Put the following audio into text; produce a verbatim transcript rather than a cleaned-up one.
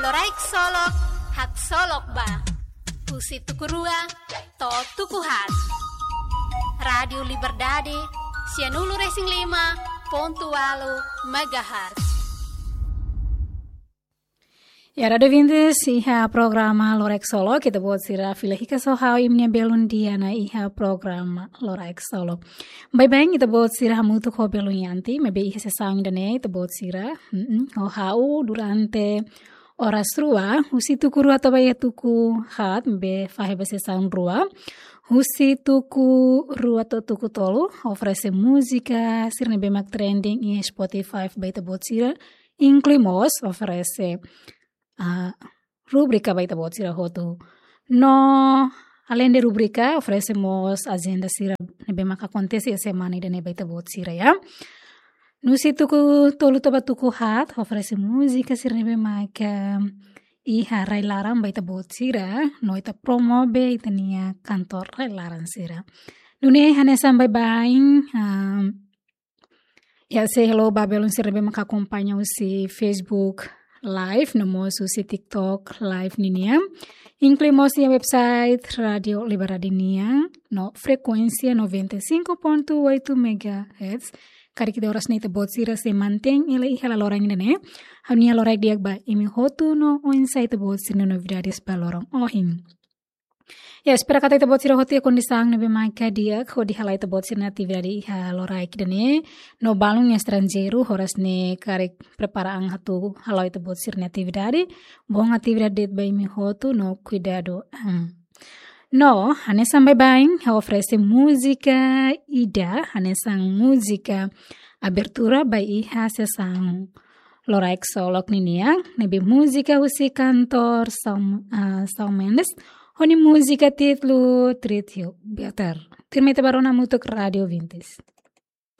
Loraik Solok, haksolok ba. Husi tuku rua to'o tuku haat. Rádiu Liberdade, sianulu-resin-lima pontu ualu megahertz. Ya, Rádiu Vintes, iha programa Loraik Solok, ita-boot sira fila hikas ho ha'u, imi-nia belun Diana, iha programa Loraik Solok. Baibain, ita-boot sira hamutuk ho belun Yanti, maibé iha sesaun ida-ne'e, ita-boot sira, mm-mm, ho ha'u durante oras rua, husi tuku rua to'o ba iha tuku haat, maibé fahe ba sesaun rua. Husi tuku rua to'o tuku tolu, oferese múzika sira ne'ebé mak trending iha Spotify ba ita-boot sira, inklui mós oferese, ah, rubrika ba ita-boot sira hotu. No, além de rubrika, oferese mós ajenda sira ne'ebé mak akontese iha semana ida-ne'e ba ita-boot sira, ya. No husi tuku tolu to'o ba tuku haat, oferese múzika sira ne'ebé mak, em, iha rai-laran ba ita-boot sira, no ita promove ita-nia kantór rai-laran sira. Nune'e hanesan baibain, em, ya, sei halo ba belun sira ne'ebé mak akompaña husi Facebook Live, no mós husi TikTok Live ninian. Inklui mós iha website Rádiu Liberdade nian, no frekuénsia noventa e cinco ponto oito megahertz. Karik ida oras ne'e ita-boot sira sei mantein hela iha laloran ida-ne'e. Ha'u-nia loraik di'ak ba imi hotu no oinsá ita-boot sira-nia novidades ba loron ohin. Ya, espera katak ita-boot sira hotu iha kondisaun ne'ebé mak di'ak hodi hala'o ita-boot sira-nia atividade iha loraik ida-ne'e. No balun iha estranjeiru, oras ne'e karik prepara an atu hala'o ita-boot sira-nia atividade. Bom atividade de'it ba imi hotu no kuidadu an. No, hanesan baibain, ha'u oferese múzika ida, hanesan múzika abertura ba iha sesaun Loraik Solok ninian, ne'ebé múzika husi kantór Shawn, ah, Shawn Mendes, ho nia múzika títulu Treat You Better. Tuirmai ita bá rona hamutuk Rádiu Vintes.